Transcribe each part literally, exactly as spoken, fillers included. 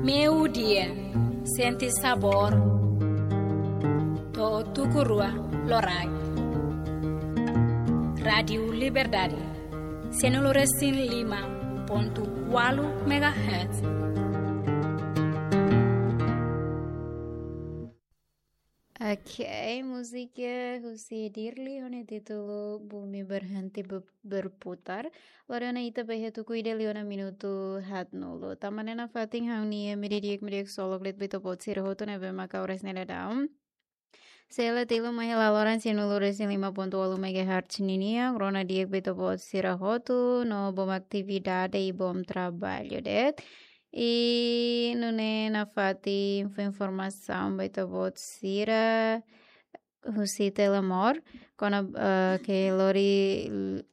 Meiudia, sente sabór. To'o tuku rua loraik. Rádiu Liberdade, sianulu resin lima pontu ualu megahertz. Ok, múzika husi Dirli ho nia títulu Bumi Berhenti Be-, Berputar. Lori ona ita bá iha tuku ida liu ona minutu haatnulu. Tanba ne'e nafatin ha'u-nia imi di'ak, imi di'ak ksolok de'it ba ita-boot sira hotu ne'ebé mak oras ne'e daudaun sei la tilun mai iha laloran sianulu resin lima pontu ualu megahertz ninian, rona di'ak ba ita-boot sira hotu no bom atividade i bom trabalho de'it. I nune'e nafatin fó informasaun ba ita-boot sira husi Telemor, kona, eh, ke lori l-,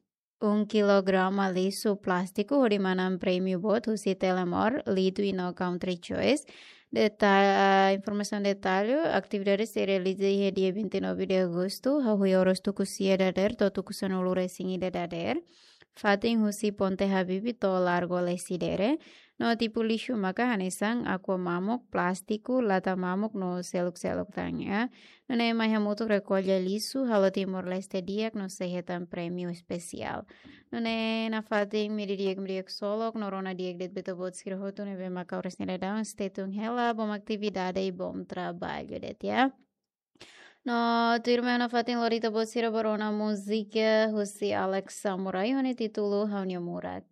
um kilograma lixu plástiku hodi manán prémiu boot husi Telemor, Litu i no Country Choice. Deta-, informasaun detallu, atividade sei realiza iha dia vinte e nove de agosto, hahú oras tuku sia dadeer to'o tuku sanulu resin ida dadeer. Fatin husi Ponte Habibie to'o Largo Lecidere. No tipu lixu maka hanesan aqua mamuk, plástiku, lata mamuk no seluk-seluk tan, ya. Nune'e mai hamutuk rekolla lixu, halo Timor-Leste di'ak no sei hetan prémiu espesiál. Nune'e nafatin imi di'ak, imi di'ak ksolok, no rona di'ak de'it ba ita-boot sira hotu ne'ebé mak oras ne'e daudaun, stay tune hela, bom atividade i bom trabalho de'it, ya. No tuirmai nafatin lori ita-boot sira ba rona múzika husi Alex Samurai ho nia títulu Ha'u-nia Murak.